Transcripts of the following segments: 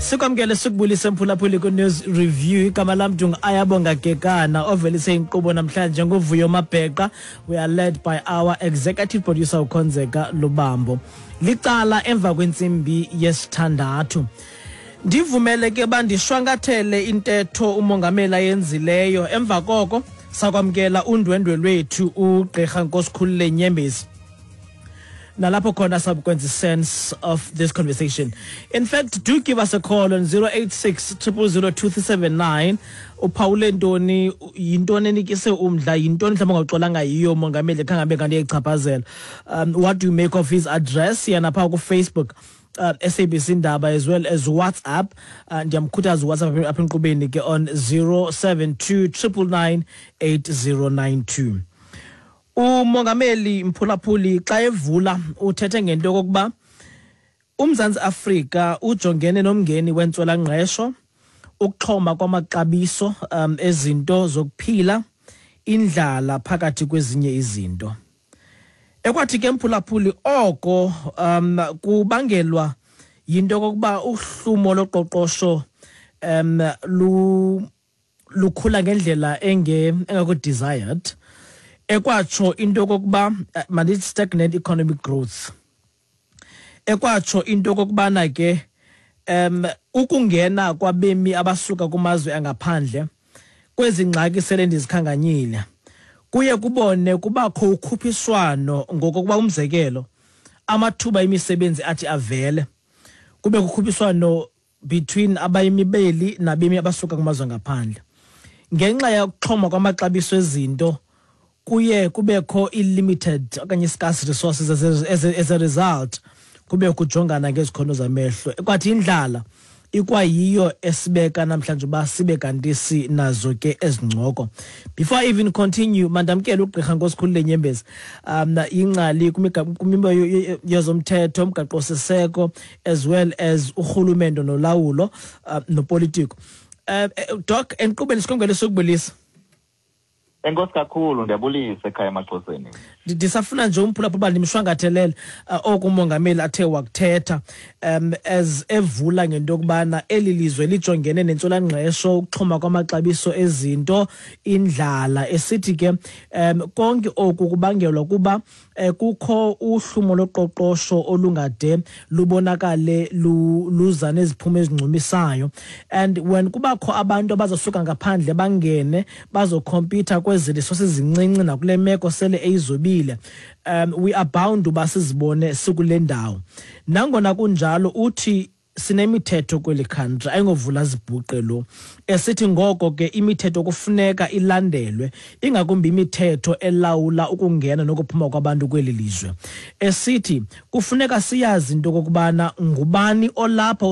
Sikwamkele sikubulise mphulaphuli ku-News Review. Igama lam ndingu-Ayabonga Gekana ovelise inkqubo namhlanje nguVuyo Mabheqa. We are led by our executive producer uKhonzeka Lubambo. Licala emva kwentsimbi yesithandathu. Ndivumele ke bandishwankathele intetho umongameli ayenzileyo, emva koko sakwamkela undwendwe lwethu uGqirha Nkosikhulule Nyembezi, nalapho khona sabukwenza sense of this conversation. In fact, do give us a call on 086 0002379. Uphawule ntoni? Yintoni enikise umdla? Yintoni mhlawumbi ongaxolanga yiyo umongameli khange abe kanti iyayichaphazela? What do you make of his address? Yena phaa kuFacebook, SABC Indaba, as well as WhatsApp. Ndiyamkhuthaza uWhatsApp apha enkqubeni ke on 072 999 8092. Umongameli, mphulaphuli, xa evula uthethe ngento yokokuba uMzantsi Afrika ujongene nomngeni wentswelangqesho, ukuxhoma kwamaxabiso ezinto zokuphila, indlala, phakathi kwezinye izinto. Ekwathi ke, mphulaphuli, oko kubangelwa yinto yokokuba uhlumo loqoqosho lukhula ngendlela engekho desired, ekwatsho into yokokuba mandithi stagnant economic growth. Ekwatsho into yokokubana ke ukungena kwabemi abasuka kumazwe angaphandle kwezi ngxaki sele ndizikhankanyile kuye kubone kubakho ukhuphiswano, ngokokuba umzekelo amathuba emisebenzi athi avele kube kukhuphiswano between abayimi beli nabemi abasuka kumazwe ngaphandle. Ngenxa yokuxhoma kwamaxabiso ezinto kuye kubekho i-limited okanye scarce resources. As a result kube kujongana ngezikhono zamehlo. Kwathi indlala ikwayiyo esibeka namhlanje uba sibe kanti sinazo ke ezincoko. Before I even continue, mandamkele ugqirha Nkosikhulule Nyembezi, ingcali kwimiba yezomthetho, umgaqo-siseko, as well as urhulumento nolawulo nopolitiko. Doc, enkqubeni sikwamkele, sokubulisa. Enkosi kakhulu, ndiyabulisa ekhaya emaXhoseni. Ndisafuna nje umphulaphula uba ndimshwangathelele oku umongameli athe wakuthetha as evula ngento yokubana eli lizwe lijongene nentswelangqesho, ukuxhoma kwamaxabiso ezinto, indlala, esithi ke konke oku kubangelwa kuba kukho uhlumo loqoqosho olungade lubonakale luza neziphumo ezincumisayo, and when kubakho abantu abazosuka ngaphandle bangene bazokhompyutha kwezi resources zincinci nakule meko sele eyizobile, we are bound uba sizibone sikule ndawo. Nangona kunjalo, uthi sinemithetho kweli country, ayingovula zibhuqe lo, esithi ngoko ke imithetho kufuneka ilandelwe, ingakumbi imithetho elawula ukungena nokuphuma kwabantu kweli lizwe. Esithi kufuneka siyazi into okokubana ngubani olapha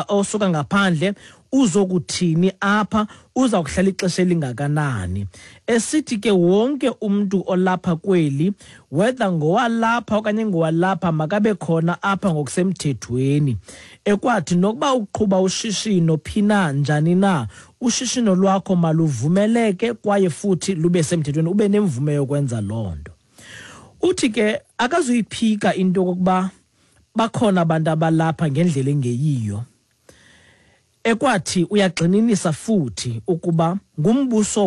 osuka ngaphandle, uzokuthini apha, uza kuhlala ixesha elingakanani. Esithi ke wonke umntu olapha kweli, whether ngowalapha okanye ngowalapha, makabe khona apha ngokusemthethweni. Ekwathi nokuba uqhuba ushishino phi na, njani na, ushishino lwakho maluvumeleke kwaye futhi lube semthethweni, ube nemvume yokwenza loo nto. Uthi ke akazuyiphika into yokokuba bakhona abantu abalapha ngendlela engeyiyo. Ekwathi uyagxininisa futhi ukuba ngumbuso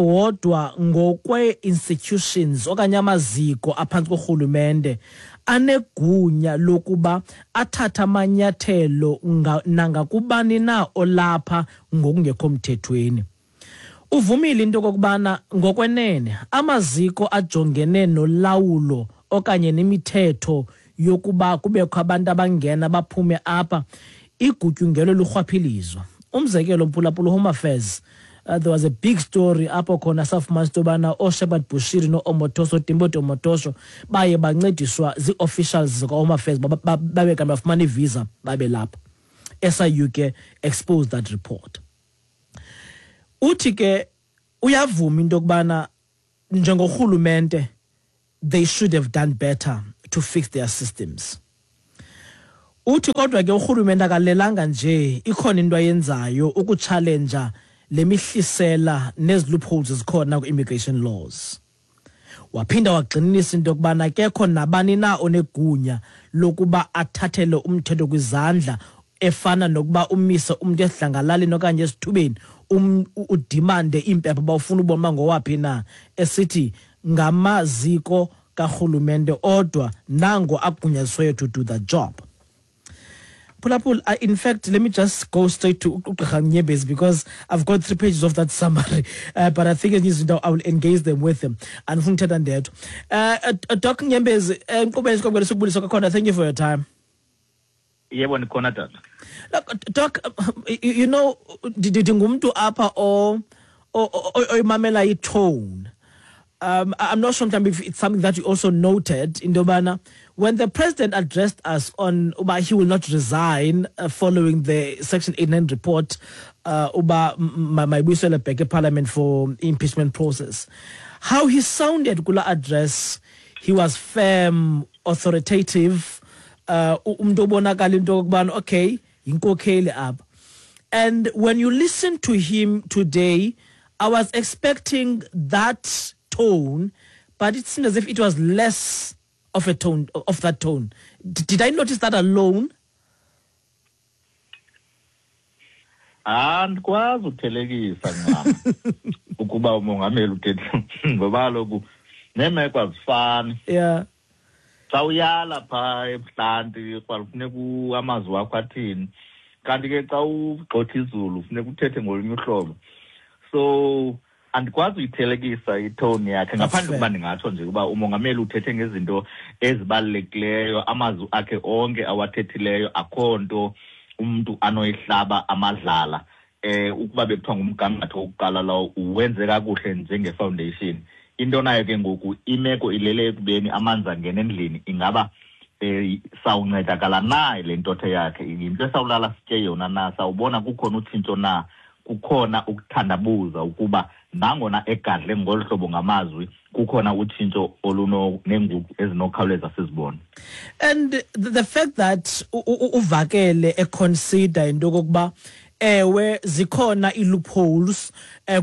wodwa ngokwe-institutions okanye amaziko aphantsi korhulumente anegunya lokuba athathe amanyathelo nangakubani na olapha ngokungekho mthethweni. Uvumile into okokubana ngokwenene amaziko ajongene nolawulo okanye nemithetho yokuba kubekho abantu abangena baphume apha igutyungelwe lurhwaphilizo. Umzekelo, mphulaphula, Home Affairs, there was a big story apho khona safumanisa into yobana ooShepherd Bushiri no-Omotoso, Timothy Omotoso, baye bancediswa zii-officials zika-Home Affairs babe kanti bafumana ivisa babe lapha. SIU ke exposed that report. Uthi ke uyavuma into yokubana njengorhulumente they should have done better to fix their systems. Uthi kodwa ke urhulumente akalelanga nje, ikhona into ayenzayo ukutshalenja le mihlisela nezi loopholes zikhona kwi-immigration laws. Waphinda wagxininisa into yokubana kekho nabani na onegunya lokuba athathele umthetho kwizandla, efana nokuba umise umntu esidlangalaleni okanye esithubeni, udimande iimpepha uba ufuna ubona uba ngowaphi na, esithi ngamaziko karhulumente odwa nango agunyazisweyo to do the job. Phulaphula, in fact, let me just go straight to uGqirha Nyembezi because I've got 3 pages of that summary, but I think izinto I will engage them with them. Andifuni uthetha ndedwa. Doc Nyembezi, enkqubeni sikwamkele sikubulisa kwakhona. Thank you for your time. Yebo, ndikhona tata. Look, Doc, ndingumntu apha oyimamela i-tone. I'm not sure if it's something that you also noted in Dobana. When the president addressed us on uba he will not resign following the Section 89 report, uba mayibuyisele back parliament for impeachment process, how he sounded kula address, he was firm, authoritative, umntu obonakala into yokubana, okay, yinkokheli apha. And when you listen to him today, I was expecting that tone, but it seemed as if it was less of a tone, of that tone. Did I notice that alone? Andikwazi ukuthelekisa ncam ukuba umongameli uthethe ngoba kaloku neemeko azifani. Xa uyala phaa ebuhlanti kufuneka amazwi wakho athini, kanti ke xa ugxotha izulu funeka uthethe ngolunye uhlobo. So andikwazi uyithelekisa itone yakhe ngaphandle kuba ndingatsho nje ukuba umongameli uthethe ngezinto ezibalulekileyo, amazwi akhe onke awathethileyo akho nto umntu anoyihlaba amadlala. Ukuba bekuthiwa ngumgangatho wokuqala lowo uwenze kakuhle njenge-foundation. Into nayo ke ngoku imeko ilele ekubeni amanzi angena endlini, ingaba sawuncedakala na le ntotho yakhe, yinto esawulala sitye yona na, sawubona kukhona utshintsho na, kukhona ukuthandabuza ukuba nangona egadle ngolu hlobo ngamazwi kukhona utshintsho olunenguqu ezinokhawuleza sizibone. And the fact that uvakele econsider into yokokuba ewe zikhona ii-loopholes,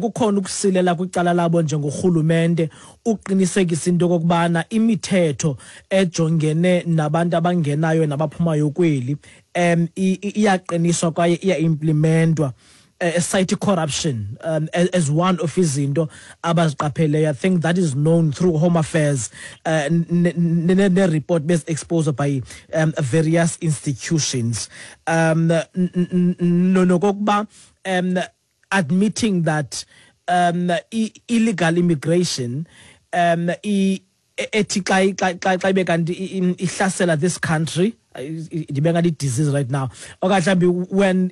kukhona ukusilela kwicala labo njengorhulumente uqinisekisa into yokokubana imithetho ejongene nabantu abangenayo nabaphumayo kweli, iyaqiniswa kwaye iya-implementwa. Cite corruption as one of izinto abaziqapheleyo. I think that is known through Home Affairs, ne-report based exposure by various institutions. Nokokuba admitting that illegal immigration ethi xa ibe kanti ihlasela this country, ndibe ngathi disease right now, okanye mhlawumbi when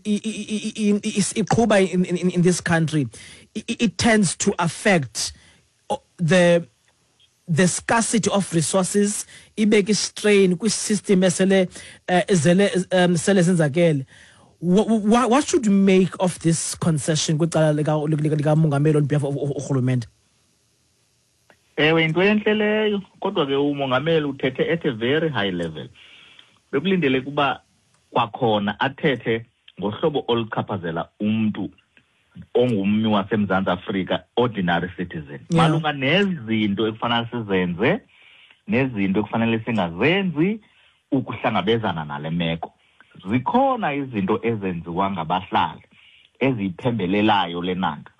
iqhuba in this country, it tends to affect the scarcity of resources, ibeke strain kwi-system esele ezele sele senzakele. What should you make of this concession kwicala likamongameli on behalf of urhulumente? Ewe, into entle leyo, kodwa ke umongameli uthethe at a very high level. Bekulindele kuba kwakhona athethe ngohlobo oluchaphazela umntu ongummi waseMzantsi Afrika, ordinary citizen. Malunga nezinto ekufanele sizenze nezinto ekufanele singazenzi ukuhlangabezana nale meko. Zikhona izinto ezenziwa ngabahlali eziyiphembelelayo le nto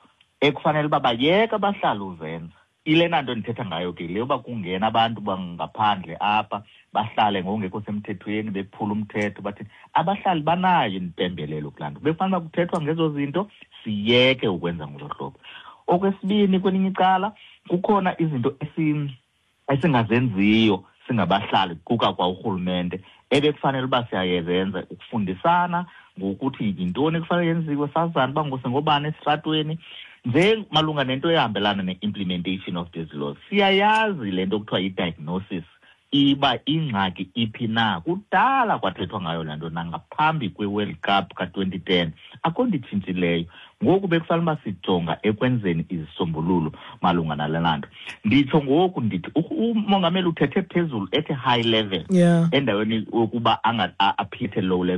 ekufanele uba bayeke abahlali uzenza. Ile nto ndithetha ngayo ke le yoba kungena abantu bangaphandle apha bahlale ngokungekho semthethweni, bephula umthetho, bathi abahlali banayo impembelelo kulaa nto. Bekufanele uba kuthethwa ngezo zinto, siyeke ukwenza ngolo hlobo. Okwesibini, kwelinye icala kukhona izinto esingazenziyo singabahlali kuka kwa urhulumente ebekufanele uba siyayenza, ukufundisana ngokuthi yintoni ekufanele yenziwe, sazane uba ngosengobani esitratweni, nje malunga nento ehambelana ne-implementation of these laws. Siyayazi le nto kuthiwa yi-diagnosis, iba ingxaki iphi na. Kudala kwathethwa ngayo le nto nangaphambi kwe-World Cup ka-2010, akho nto itshintshileyo. Ngoku bekufanele uba sijonga ekwenzeni izisombululo malunga nale nto. Nditsho ngoku ndithi umongameli uthethe phezulu at a high level, endaweni yokuba aphethe low level.